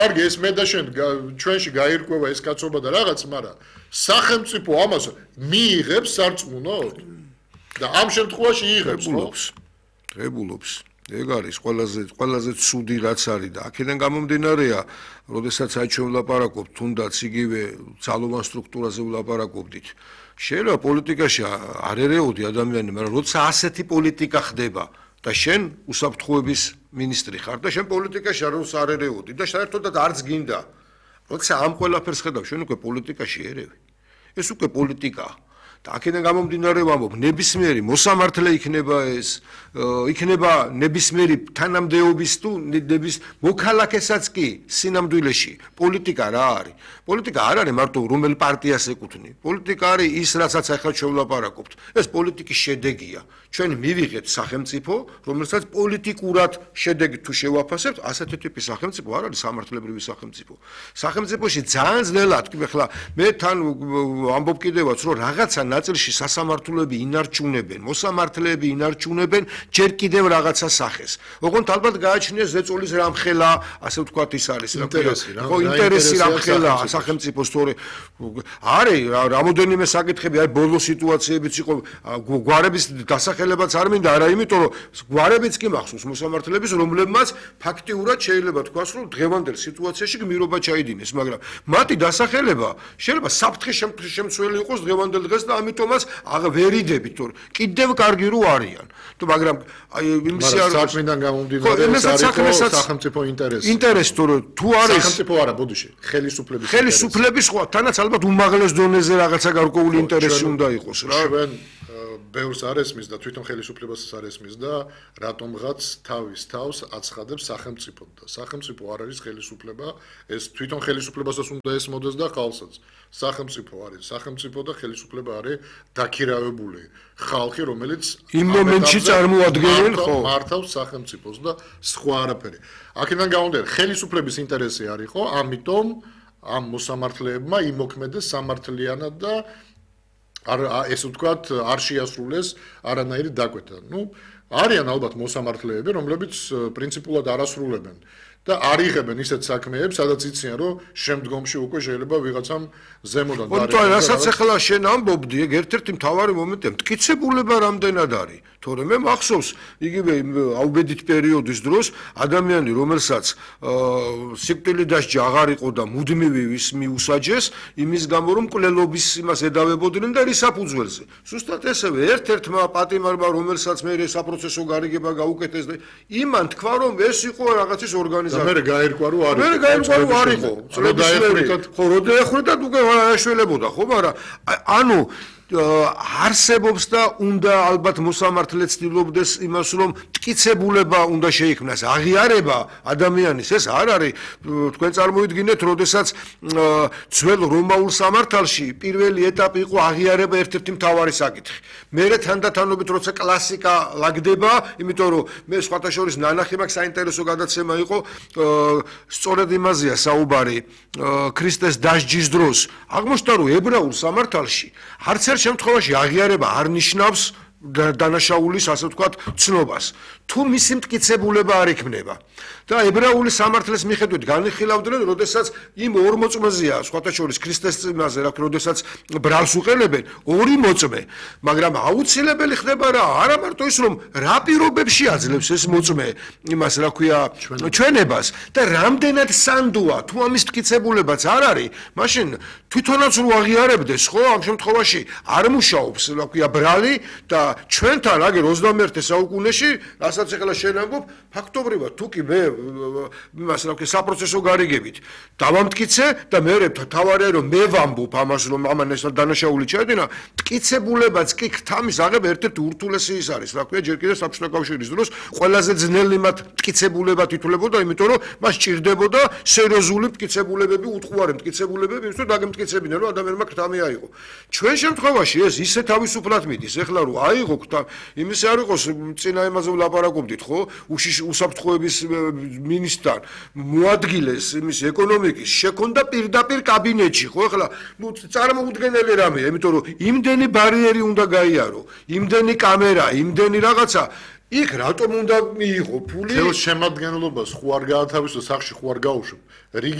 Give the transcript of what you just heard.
კარგი ეს მე და შენ ჩვენში გაირკვევა ეს კაცობა და რაღაც, მაგრამ სახელმწიფო ამას მიიღებს სარწმუნოდ და ამ შემთხვევაში იღებს, ხო? ღებულობს. ეგ არის ყველაზე ცუდი რაც არის და აქედან გამომდინარეა, როდესაც აი ჩვენ ვლაპარაკობთ, თუნდაც იგივე ძალოვან სტრუქტურაზე ვლაპარაკობდით. შეიძლება პოლიტიკაში არ ერეოდი ადამიანი, მაგრამ როცა ასეთი პოლიტიკა ხდება და შენ უსაფრთხოების მინისტრი ხარ და შენ პოლიტიკაში არ ერეოდი და საერთოდაც არც გინდა. როცა ამ ყველაფერს ხედავ, შენ უკვე პოლიტიკაში ერევი. ეს უკვე პოლიტიკაა. და აქედან გამომდინარე ვამბობ, ნებისმიერი მოსამართლე იქნება ეს, იქნება ნებისმიერი თანამდებობის თუ მოქალაქესაც კი სინამდვილეში პოლიტიკა რა არის? პოლიტიკა არ არის მარტო რომელ პარტიას ეკუთვნი. პოლიტიკა არის ის, რასაც ახლა ჩვენ ვლაპარაკობთ. ეს პოლიტიკის შედეგია. ჩვენ მივიღეთ სახელმწიფო, რომელსაც პოლიტიკურად შედეგი თუ შევაფასებთ, ასეთი ტიპის სახელმწიფო არ არის სამართლებრივი სახელმწიფო. სახელმწიფოში ძალიან ძნელად, ახლა მე თან ამბობ კიდევაც, რომ რაღაცა ნაწილში სასამართლოები ინარჩუნებენ, მოსამართლეები ინარჩუნებენ ჯერ კიდევ რაღაცა სახეს. ოღონდ ალბათ გააჩნია ზეწოლის რამხელა, ასე ვთქვათ ის არის, ხო, ინტერესი რამხელა სახელმწიფოს თორე არის რამოდენიმე საკითხები, აი ბოლო სიტუაციებიც იყო, გვარების დასახელებაც არ მინდა, არა იმიტომ რომ გვარებიც კი მახსოვს მოსამართლეების, რომლებმაც ფაქტიურად შეიძლება თქვას, რომ დღევანდელ სიტუაციაში გმირობა ჩაიდინეს, მაგრამ მათი დასახელება შეიძლება საფრთხის შემცველი იყოს დღევანდელ დღეს და ამიტომაც ვერიდებით, თორე კიდევ კარგი რო არიან. მაგრამ აი იმისი არ საქმიდან გამომდინარე სახელმწიფო ინტერესი. თორე თუ არის სახელმწიფო არა, ბოდიში, ხელისუფლების ხო, თანაც ალბათ უმაღლეს დონეზე რაღაცა გარკვეული ინტერესი უნდა იყოს რა. ჩვენ ბევრს არ ესმის და თვითონ ხელისუფლებასაც არ ესმის და რატომღაც თავის თავს აცხადებს სახელმწიფო და სახელმწიფო არ არის ხელისუფლება, ეს თვითონ ხელისუფლებასაც უნდა ესმოდეს და ხალხსაც. სახელმწიფო არის სახელმწიფო და ხელისუფლება არის დაქირავებული ხალხი, რომელიც იმ მომენტში წარმოადგენენ ხო მართავს სახელმწიფოს და სხვა არაფერი. აქედან გამომდინარე, ხელისუფლების ინტერესი არის ხო, ამიტომ ამ მოსამართლეებმა იმოქმედეს სამართლიანად და ესე ვთქვათ, არ შეასრულეს არანაირი დაკვეთა. არიან ალბათ მოსამართლეები, რომლებიც პრინციპულად არ ასრულებენ და არ იღებენ ისეთ საქმეებს, სადაც იციან, რომ შემდგომში უკვე შეიძლება ვიღაცამ ზემოდან დაარღვევოს. რასაც ახლა შენ ამბობდი, ეგ ერთ-ერთი მთავარი მომენტია, მტკიცებულება რამდენად არის. თორე მე მახსოვს, იგივე აუბედით პერიოდის დროს ადამიანი, რომელსაც სიკვდილი დასჯა აღარ იყო და მუდმივი მიუსაჯეს, იმის გამო რომ მკვლელობის იმას ედავებოდნენ და რის საფუძველზე. სუსტად ესევე ერთ-ერთმა პატიმარმა, რომელსაც მე საპროცესო გარიგება გაუკეთეს და იმან თქვა, რომ ეს იყო რაღაცის ორგანიზაცია. მე გაირკვა რომ არის. მე გაირკვა რომ არ იყო. ხო, რო დაეხვრიტათ უკვე აღაშველებოდა, ხო, მაგრამ ანუ არსებობს და უნდა ალბათ მოსამართლე ცდილობდეს იმას, რომ მტკიცებულება უნდა შეიქმნას, აღიარება ადამიანის, ეს არ არის. თქვენ წარმოვიდგინეთ, როდესაც ძველ რომაულ სამართალში პირველი ეტაპი იყო აღიარება ერთ-ერთი მთავარი საკითხი. მერე თანდათანობით როცა კლასიკა ლაგდება, იმიტომ რომ მე სხვათა შორის ნანახი მაქვს საინტერესო გადაცემა იყო, სწორედ იმაზეა საუბარი ქრისტეს დასჯის დროს. აღმოჩნდა, რომ ებრაულ სამართალში არც ერთ შემთხვევაში აღიარება არ ნიშნავს დანაშაულის, ასე ვთქვათ, ცნობას. თუ მისი მტკიცებულება არ იქნება. და ებრაული სამართლის მიხედვით განიხილავდნენ, როდესაც იმ ორ მოწმეზეა, სხვათა შორის ქრისტეს წინაზე, როდესაც ბრალს უყენებენ, ორი მოწმე, მაგრამ აუცილებელი ხდება რა, არა მარტო ის, რომ რა პირობებში აძლევს ეს მოწმე იმას, რა ქვია, ჩვენებას და რამდენად სანდოა, თუ ამის მტკიცებულებაც არ არის, მაშინ თვითონაც რო აღიარებდეს, ხო, ამ შემთხვევაში არ მუშაობს, რა ქვია, ბრალი და ჩვენთან აგერ 21 საუკუნეში, რასაც ახლა შენ ამბობ, ფაქტობრივად თუ კი მე იმას რა ქვია საპროცესო გარიგებით დავამტკიცე და მე თავარია რომ მე ვამბობ ამას რომ ამან ეს დანაშაული ჩაედინა, მტკიცებულებაც კი ქთამის აღება ერთ-ერთი ურთულესი ის არის, რა ქვია, ჯერ კიდევ საბჭოთა კავშირის დროს ყველაზე ძნელი მათ მტკიცებულება თითულებოდა, იმიტომ რომ მას ჭირდებოდა სერიოზული მტკიცებულებები, უტყუარი მტკიცებულებები, იმისთვის რომ დაგემტკიცებინა, რომ ადამიანმა ქთამი აიღო. ჩვენ შემთხვევაში ეს ისე თავისუფლად მიდის, ეხლა რომ აიღო ქთამი, იმის არ იყოს წინა იმაზე ვლაპარაკობდით, ხო? უსაფრთხოების მინისტრთან მოადგილეს იმის ეკონომიკის შექონდა პირდაპირ კაბინეტში, ხო? ახლა წარმოუდგენელი რამეა, იმიტომ რომ იმდენი ბარიერი უნდა გაიარო, იმდენი კამერა, იმდენი რაღაცა იქ რატომ უნდა მიიღო ფული? თელ შემადგენლობას ხო არ გაათავისო, სახში ხო არ გაუშვებ.